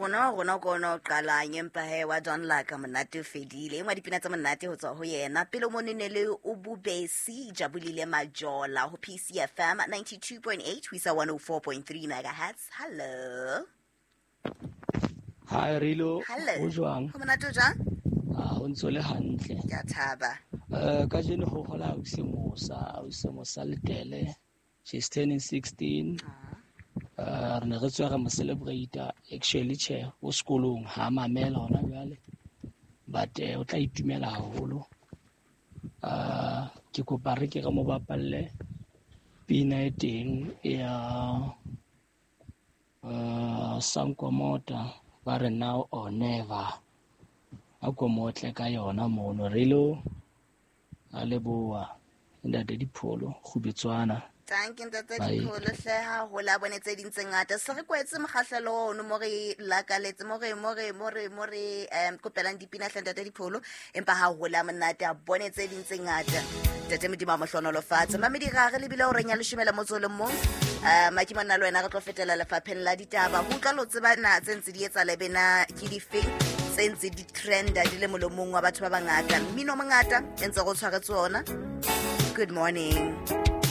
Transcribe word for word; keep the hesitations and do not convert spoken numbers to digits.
Rona rona ko no qalang empa he wa Don Laka monate o fedile. Engwa dipina tsa monate ho tswa ho yena. Pele mo ne le o Bubesi Jabulile Majola ho P C F M ninety-two point eight ho isa one oh four point three megahertz. Hello. Hi Rilo. Hello. O jwang? Ho monate o jwang? Ah, ho ntso le hantle. Ke a thaba. Eh kajeno ho hola o se mosa, o se mosa letele. She's turning sixteen. Uh, re ne re tswa re mo celebrate actually che o sekolong ha mamela hona jwale, but o tla itumela haholo. Uh, ke kopa re ke re mo bapalle pina e teng ya uh, Sankomota ba re now or never. A ko motle ka yona mono Rilo a leboa ntate Dipholo Kgubetswana. Thank you ntate Dipholo hle ha hola bone tse ding tse ngata. Se re kwetse mokgahlelo ono mo re lakaletse mo re mo re mo re mo re um kopelang dipina hle ntate Dipholo, empa ha hola monate a bone tse ding tse ngata. Ntate Modimo a mo hlohonolofatse. Mamedi ga re lebile o reng ya leshome le motso le mong. Uh, Maki monna le wena re tlo fetela lefapheng la ditaba. Ho utlwa lo tseba na tse ntse di etsa lebena ke difeng tse ntse di trenda di le molomong wa batho ba bangata. Mmino mongata e ntse go tshwaretse ona. Good morning.